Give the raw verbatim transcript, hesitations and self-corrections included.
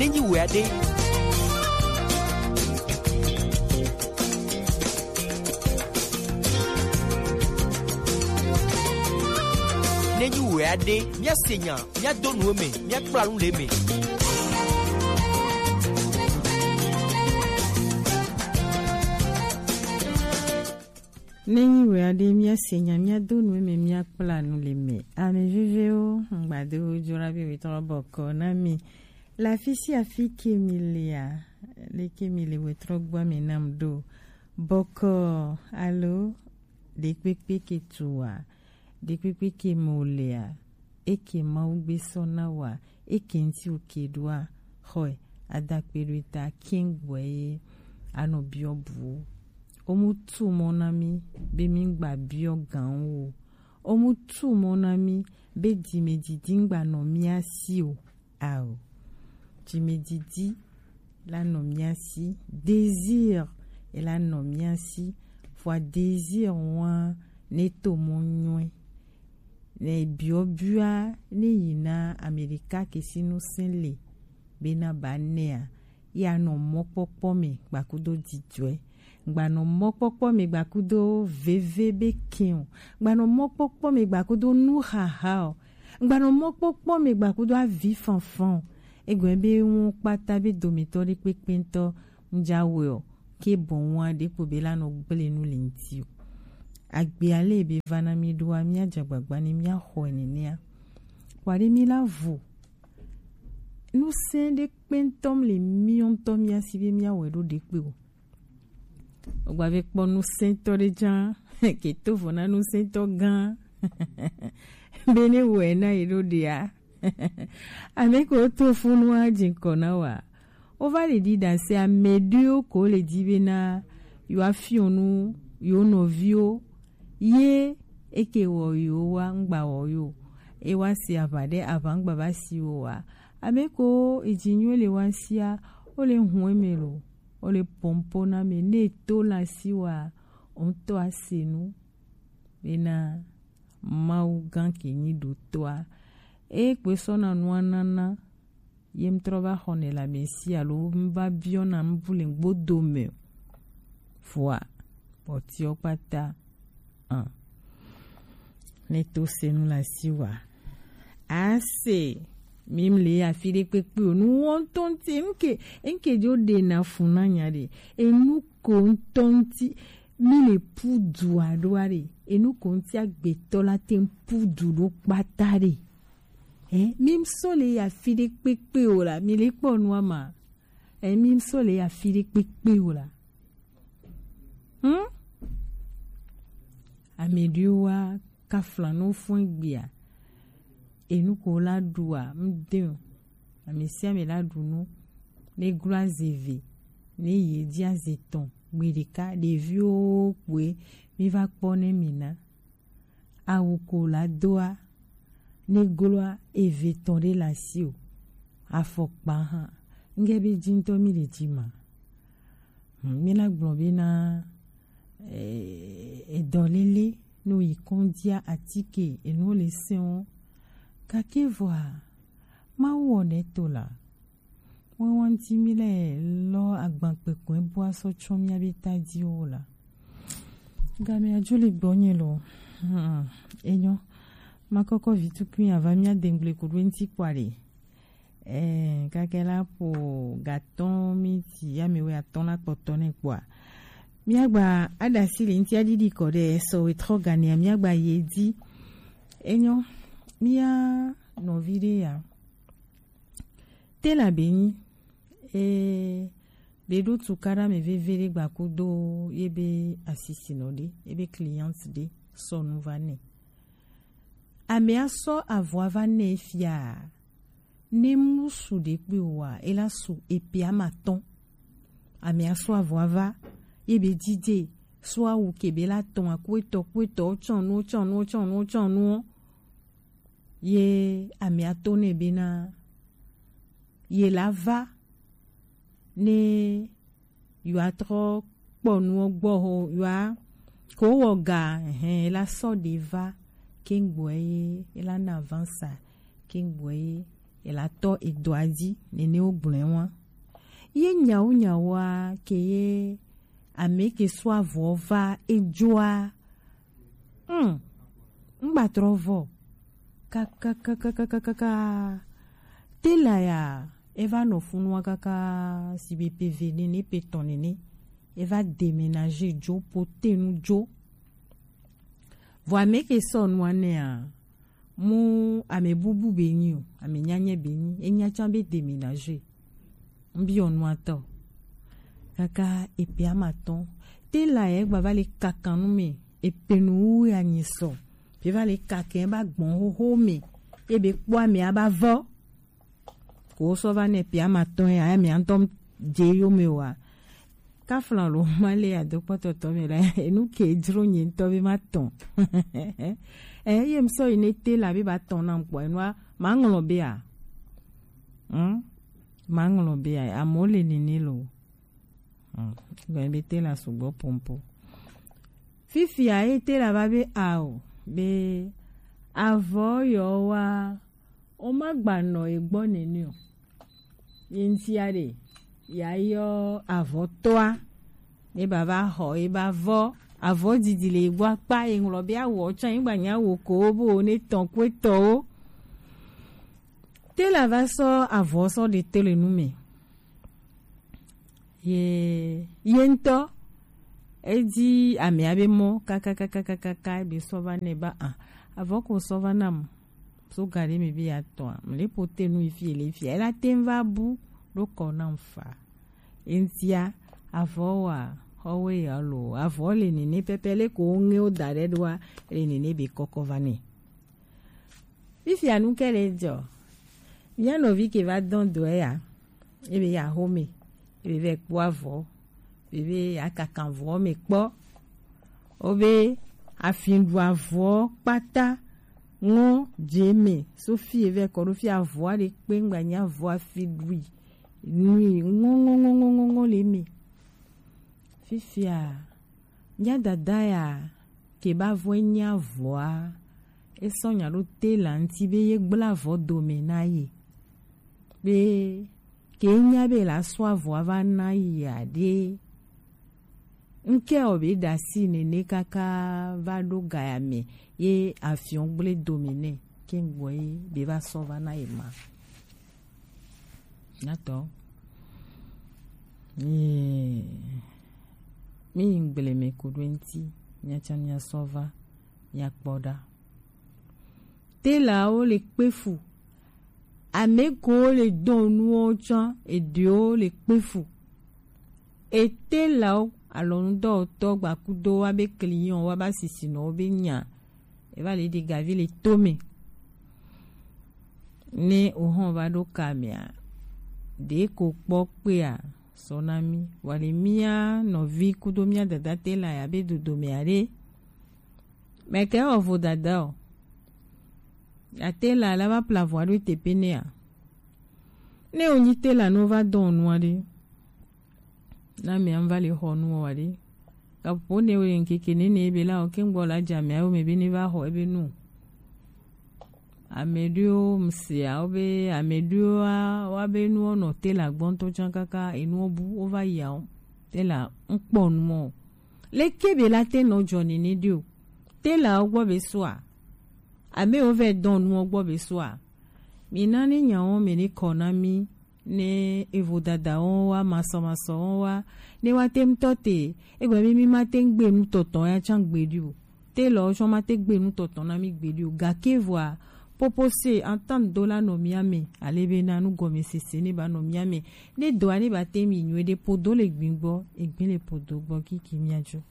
Nenyi wɛ aɖe. Nenyi wɛ aɖe. Míase nya, míado nu eme, míakpla nu le eme. Nenyi wɛ aɖe, míase nya, míado nu eme, míakpla nu le eme. Ame vevewo, ŋgbado dzora be wetɔ bɔkɔ na mi. Le afi sia afi ke mi lea, leke mi le wetrɔ gbɔ me nam ɖo. Bɔkɔ alo ɖekpekpe ke tu wa, ɖekpekpe ke mo lea, eke Mawu gbe sɔ na wa, eke ŋti o ke ɖoa, xɔe, adakpe ɖo eta kiŋ gbɔe ye anɔ biɔ buwo. Omu tu mɔ na mi be mi gba biɔ gan wo. Omu tu mɔ na mi be dime didi ŋgba nɔ mia si o. Ao. Dime didi la nɔ mia si. Désir e la nɔ mia si. Vɔa désir wa ne to mɔ nyɔe. Ne biɔ bia ne yi na Amerika ke si nu se le be na ba nea. Ya nɔ mɔkpɔkpɔ me gbakudo didɔe. Ŋgba nɔ mɔkpɔkpɔ me gbakudo veve be ke o. Ŋgba nɔ mɔkpɔkpɔ me gbakudo nu xaxa o. Ŋgba nɔ mɔkpɔkpɔ me gbakudo avi fanfan o. Egɔn be ŋu kpata be dometɔ ɖe kpekpe ŋtɔ ŋdza wɛ o. Ke bɔn wa ɖe kpo be la nɔ gble nu le ŋti o. Agbe ale be va na mi ɖoa, mia dza gbagba ni mia xɔe nenea. Kpa ɖe mi la vo. Nu se ɖe kpe ŋtɔ le mi ŋtɔ mia si be mia wɛ ɖo ɖe kpe o. Ogba ve kpɔ nusɛntɔ ɖe dza ke to vo na nusɛntɔ gã be ne wɔe na yi ɖo ɖea. Ame ko to funu a dzi ŋkɔ na wa. Wova le ɖi ɖase ame ɖewo ko le dzi be na yewoa fiɔ nu yewo nɔviwo ye eke wɔ yewo wa ŋgba wɔ yo. E wa si aʋa ɖe aʋa ŋgba va si wo wa. Ame ko edzi nyuie le wa sia wo le hun eme lo. Wo le pɔnpo na me ne to la si wa ŋutɔ ase nu bena Mawu gã ke nyi ɖotɔa. Eye kpe sɔna nua nana ye ŋtrɔ va xɔnɛ le ame si alo ŋva biɔna ŋbu le ŋgbodo me o. Vɔa kpɔtiɔ kpata. An. Ne to se nu la si wa. Ase. Mi mle afi ɖe kpekpe o. Nu wɔntɔ ŋti. Ŋke, ŋke dzo ɖe na fu na nya ɖe. Enu ko ŋtɔ ŋti. Mi le pu du aɖo aɖe. Enu ko ŋti agbetɔ la te pu du ɖo kpata ɖe. Eh, mi sɔ le afi ɖe kpekpe o la. Mi le kpɔ nua ma. Eh, mi sɔ le afi ɖe kpekpe o la. Hmm? Ame ɖewo wa kafla no fún egbea. Enu ko la ɖua, ŋde o. Ame sia ame la ɖu nu. Ne glo aze ve, ne ye dzi aze tɔn, gbe ɖeka, ɖeviwo kpoe, mi va kpɔ ne mi na. Awu ko la doa, ne gloa eve tɔn ɖe la si o. Afɔkpa hã, ŋge be dzi ŋtɔ mi le dzi ma. Hmm, mi la gblɔ be na, eh, edɔlele no yi kɔndzia atike enu le sɛn o. Gake vɔa, Mawu wɔ ne to la. Ŋuɛwa ŋti mi le lɔ agbankpekɔe bua sɔ tsɔ miabe tadiwo la. Game adzo le gbɔnye lo. Hmm, enyo. Makɔkɔ vi tukui ava mia dengble kuɖo ŋti kpɔa ɖe. Eh, kake la po gatɔn mi ti ya mi wɛ atɔn la kpɔtɔ ne kpɔa. Miagba aɖasi le ŋti aɖiɖi kɔ ɖe sɔ wɛ trɔ ganea miagba ye di. Enyo. Mia nɔvi ɖe ya. Te la be nyi, e, be ɖo tukaɖa me veve ɖe gba kudo ye be asisinɔ ɖe, ye be client ɖe sɔ nu va nɛ. Amea sɔ avɔa va nɛ fia, ne musu ɖe kpe o wa, e la su epe amatɔn. Amea sɔ avɔa va, ye be dide, sɔ awu ke be la tɔn akuetɔ, kuetɔ, tsɔnu, tsɔnu, tsɔnu, tsɔnu. Ye amea to nɛ bena ye la va ne yewoa trɔ kpɔ nuwo gbɔ ho yewoa ko wɔ ga, ɛhɛn, ye la sɔ ɖe va keŋgbɔe ye, ye la na avansa keŋgbɔe ye, ela tɔ edo aji nene wo gblɔe wa. Ye nyawo nyawoa ke ye ame ke sɔ avɔ va ejoa. Hmm. Ngba trɔ vɔ. Kakakakakakaka. Tela ya eva nɔ funua kaka si be pe ve nene pe tɔn nene. Eva déménager jo potenu jo. Vɔ ame ke sɔ nua nɛa, mu ame bubu be nyi o, ame nyanyɛ be nyi, enya can be déménager. Mbiɔ nua tɔ. Kaka epe ama tɔn. Tela yɛ gba va le kakan nu me, epe nu wu ya nyi sɔ. Pe va le kakɛ ba gbɔn hoho me. Ebe kpɔ ame aba vɔ. Ko sɔ va nɛ pe ama tɔn ya, ame antɔ je yo me wa. Kaflan lo ma le ado kpɔtɔtɔ me la, enu ke jro nye ŋutɔ be ma tɔn. Eh, ye m sɔ yi ne tela be ba tɔn na m kpɔ, enua, ma ŋlɔ be a. Hmm? Ma ŋlɔ be a, amewo le nene lo. Hmm. Gbe be tela sugbɔ pompo. Fifia ye tela va be ao, be avɔ yɔ wa, o ma gba nɔ e gbɔ nene o. Ye ŋutia ɖe, ya yɔ avɔtɔa, ne ba va xɔ ye ba vɔ, avɔ didi le gbɔ akpa ye ŋlɔ be awɔ tsã ye gba nya wo ko bo ne tɔn kue tɔwo. Tela va sɔ avɔ sɔ ɖe to le nu me. Ye, ye ŋutɔ, edi amea be mɔ kakakakaka be sɔ va nɛ ba a, avɔ ko sɔ va nam. So ga ɖe me be ya tɔa, mle pote nu ifi ele fia. Ela te va bu ɖo kɔ nam fa. Eŋutia, avɔ wa, xɔwe ya lo, avɔ le nene pɛpɛ le ko ŋe wo da ɖe ɖoa, le nene be kɔkɔ va nɛ. Fifia nu ke le dzɔ. Mía nɔvi ke va dɔn dɔɛ ya. Ebe ya xome. Ebe vɛ kpɔ avɔ. Ebe ya kakan avɔ me kpɔ. Obe afi ɖu avɔ kpata. Ŋɔ dze me. So fi evɛ kɔ ɖo fi avɔ aɖe kpe ŋgba nya avɔ afi ɖui. Nui ŋɔ ŋɔ ŋɔ ŋɔ ŋɔ ŋɔ le me. Fifia, mía dada ya ke ba vɔ nya avɔa, e sɔ nya ɖo tela ŋuti be ye gbla avɔ dome na ye. Be ke nya be la sɔ avɔa va na ye aɖe. Ŋke o be ɖasi nene kaka va ɖo gaya me ye afiɔn gble dome nɛ ke ŋgbɔ ye be va sɔ va na ye ma. Nyatɔ. Ee. Mi yi gble me ko ɖo ŋuti, mia tsã mia sɔ va, mia kpɔ ɖa. Telawo le kpe fu. Ame ko le dɔn nuwo tsã, eɖewo le kpe fu. Etelawo alɔnudɔwɔtɔ gbakudo wa be client wa ba sisinɔwo be nya. Eva le ɖi gavi le to me. Ne o hɔn va ɖo ka mea, ɖe ko kpɔ kpea, sɔ na mi. Wa le mía nɔvi kudo mía dada tela ya be dodo mea ɖe. Mɛ kɛ o vo dada o. Ya tela la va pla vo aɖo tepe nea. Ne o nyi tela no va dɔn nua ɖe. Na mea va le xɔ nu wa ɖe. Kapo ne o ŋkeke nene be la o ke ŋgbɔ la dza mea o me be ne va xɔ ebe nu. Ame ɖewo mseawo be ame ɖewo wa be nuwo nɔ tela gbɔ ŋutɔ tsã kaka enuwo bu wo va yia wo tela ŋkpɔ nuwo. Leke be la te nɔ dzɔ nene ɖe o. Tela wo gbɔ be soa. Ame wo vɛ dɔn nuwo gbɔ be soa. Mi na ni nyawo me ni kɔ na mi. Ne evo dada wɔn wa masɔmasɔ wɔn wa ne wa te ŋutɔ te egbe mi mi ma te ŋgbe nutɔtɔ ya tsã gbeɖi o. Te lɔ tsɔ ma te gbe nutɔtɔ na mi gbeɖi o gake voa popo se entente do la nɔ mia me ale be na nugɔmesese ne ba nɔ mia me ne dɔa ne ba te mi nyuie ɖe podo le gbin gbɔ egbe le podo gbɔ kiki mia dzo.